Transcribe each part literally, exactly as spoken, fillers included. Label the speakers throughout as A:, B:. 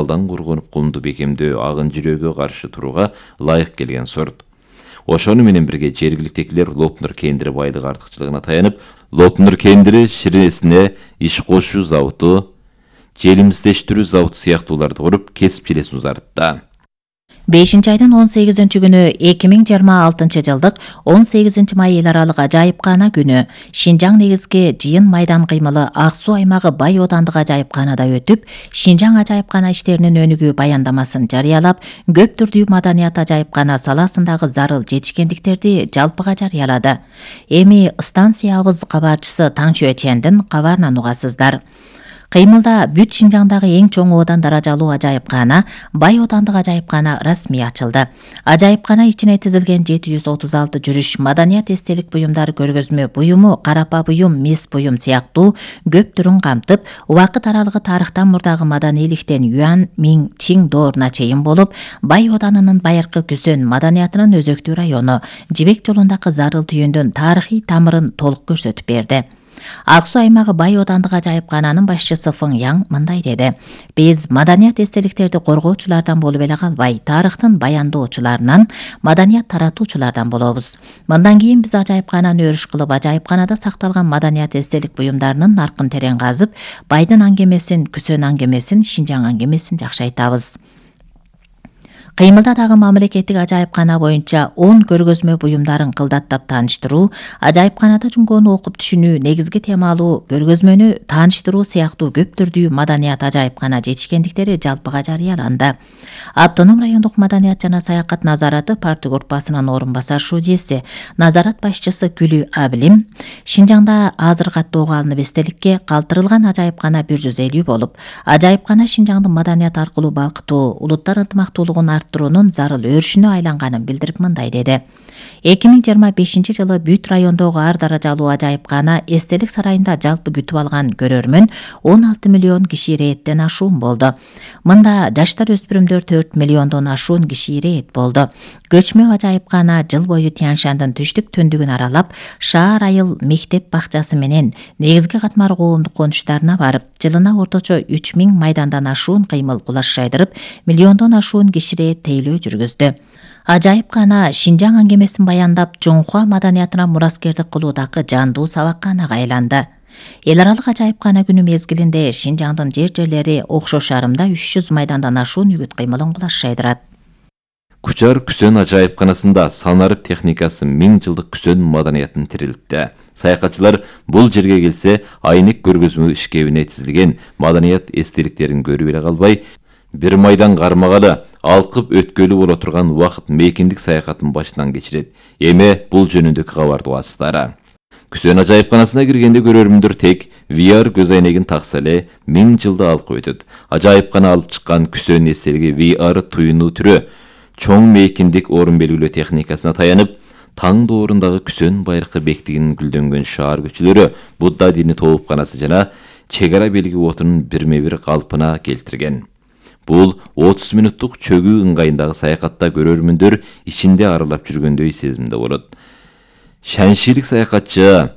A: алдан коргонуп кумду бекемдөө, агын жүрөөгө каршы турууга ылайык келген сорт. Ошону менен бирге жергиликтегилер Лотнур кендири байлык артыкчылыгына таянып, Лотнур кендири ширесине иш кошуу заводу, желимиздештирүү заводу сыяктууларды куруп, кесип желесин узартты.
B: бешинчи айдын он сегизинчи күнү эки миң жыйырма алтынчы жылдык он сегизинчи май эл аралык ажайыпкана күнү Шинжаң негизги жыйын майдан кыймылы Ак Суу аймагы Бай Оодандык ажайыпканада өтүп, Шинжаң ажайыпкана иштеринин өнүгүү баяндамасын жарыялап, көп түрдүү маданият ажайыпкана саласындагы зарыл жетишкендиктерди жалпыга жарыялады. Эми станциябыз кабарчысы Таңчө Чендин кабарынан угасыздар. Кыймылда бүт Шинжаңдагы эң чоң оодан даражалуу ажайыпкана Бай Оодандык ажайыпкана расмий ачылды. Ажайыпкана ичине тизилген жети жүз отуз алты жүрүш, маданият эстелик буюмдар, көргөзмө буюму, карапа буюм, мис буюм сыяктуу көп түрүн камтып, убакыт аралыгы тарыхтан мурдагы маданийликтен Юан, Миң, Чин дооруна чейин болуп, Бай Ооданынын байыркы Күсөн маданиятынын өзөктүү району, Жибек жолундагы зарыл түйүндүн тарыхый тамырын толук көрсөтүп берди. Ак Суу аймагы Бай Оодандык ажайыпкананын башчысы Фың Яң мындай деди: "Биз маданият эстеликтерди коргоочулардан болуп эле калбай, тарыхтын баяндоочуларынан, маданият таратуучулардан болобуз. Мындан кийин биз ажайыпкананы өрүш кылып, ажайыпканада сакталган маданият эстелик буюмдарынын наркын терең казып, Байдын аңгемесин, Күсөн аңгемесин, Шинжаң аңгемесин жакшайтабыз." Кыймылда дагы мамлекеттик ажайыпкана боюнча он көргөзмө буюмдарын кылдаттап тааныштыруу, ажайыпканада жумгоону окуп түшүнүү, негизги темалуу көргөзмөнү тааныштыруу сыяктуу көп түрдүү маданият ажайыпкана жетишкендиктери жалпыга жарыяланды. Автоном райондук маданият жана саякат назараты парты группасынын орун басар шудиеси, назарат башчысы Күлү Абилим, Шинжаңда азыр каттоого алынып эстеликке калтырылган ажайыпкана бир жүз элүү болуп, ажайыпкана Шинжаңды маданият аркылуу балкытуу, улуттар ынтымактуулугун арттыруунун зарыл өрүшүнө айланганын билдирип мындай деди: эки миң жыйырма бешинчи жылы бүт райондогу ар даражалуу ажайыпкана эстелик сарайында жалпы күтүп алган көрөрмөн он алты миллион киши ирээттен ашуун болду. Мында жаштар өспүрүмдөр төрт миллиондон ашуун киши ирээт болду. Көчмө ажайыпкана жыл бою Тянь-Шандын түштүк төндүгүн аралап, шаар айыл мектеп бакчасы менен негизги катмар коомдук конуштарына барып, жылына орточо үч миң майдандан ашуун кыймыл кулаш жайдырып, миллиондон ашуун киши тейлөө жүргүздү. Ажайыпкана Шинжаң аңгемесин баяндап, Жоңхуа маданиятына мураскердик кылуудагы жандуу сабакканага айланды. Эл аралык ажайыпкана күнү мезгилинде Шинжаңдын жер-жерлери окшош арымда үч жүз майдандан ашуун үгүт кыймылын кулаш жайдырат.
A: Кучар Күсөн ажайыпканасында санарып техникасы миң жылдык Күсөн маданиятын тирилтти. Саякатчылар бул жерге келсе, айнек көргөзмө ишкебине тизилген маданият эстеликтерин көрүп эле калбай, бир майдан кармагалы, алкып өткөлү боло турган убакыт мейкиндик саякатын башынан кечирет. Эми бул жөнүндөгү кабарды угасыздар. Күсөн ажайыпканасына киргенде көрөрмүндөр тек ви ар көз айнегин такса эле миң жылды алкып өтөт. Ажайыпкана алып чыккан Күсөн эстелиги ви ар туюну түрү чоң мейкиндик орун белгилөө техникасына таянып, таң доорундагы Күсөн байыркы бектигинин гүлдөнгөн шаар көчөлөрү, Будда дини тоопканасы жана чек ара белги отунун бирме бир калпына келтирген. Бул отуз мүнөттүк чөгүү ыңгайындагы саякатта көрөрмүндөр ичинде аралап жүргөндөй сезимде болот. Шаншилик саякатчы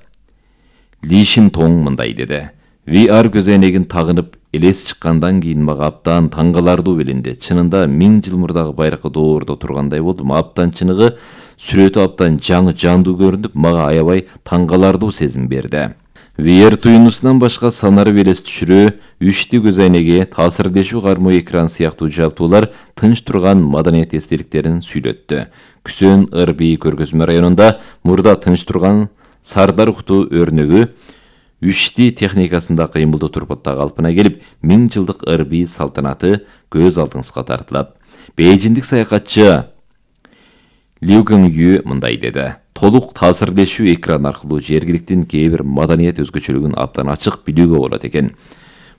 A: Ли Шин Тоң мындай деди: "ви ар көз айнегин тагынып элес чыккандан кийин мага абдан таң калардуу белинди. Чынында миң жыл мурдагы байыркы доордо тургандай болдум. Абдан чыныгы сүрөтү абдан жаңы жандуу көрүнүп, мага аябай таң калардуу сезим берди." ви ар туюнусунан башка санарып элес түшүрүү, үчтү көз айнеги, таасирдешүү кармоо экран сыяктуу жабдуулар тынч турган маданият эстеликтерин сүйлөттү. Күсөн ырбий көргөзмө районунда мурда тынч турган Сардар Куту өрнөгү үчтү техникасында кыймылдуу турпатта калпына келип, миң жылдык ырбий салтанаты көз алдыңызга тартылат. Бейжиндик саякатчы Лю Гыңю мындай деди: "Толук таасирдешүү экран аркылуу жергиликтин кээ бир маданият өзгөчөлүгүн абдан ачык билүүгө болот экен.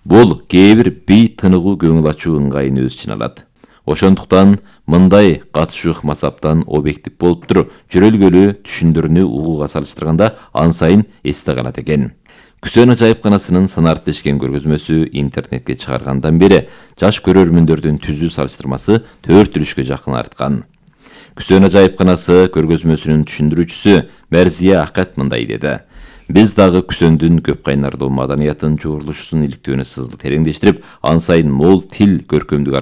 A: Бул кээ бир бий тыныгуу көңүл ачуу ыңгайын өз ичине алат. Ошондуктан мындай катышуу ыкмасаптан объектив болуптур, жөрөлгөлүү түшүндүрүүнү угууга салыштырганда ан сайын эсте калат экен." Күсөн ажайыпканасынын санарып дешкен көргөзмөсү интернетке чыгаргандан бери жаш көрөрмүндөрдүн түзүү салыштырмасы төрт үлүшкө жакын арткан. Күсөн ажайыпканасы көргөзмөсүнүн түшүндүрүүчүсү Мәрзия Акат мындай деди: "Биз дагы Күсөндүн көп кайнардуу маданиятын жуурулушун иликтөөнү сызды тереңдештирип, ан сайын мол тил көркөмдүк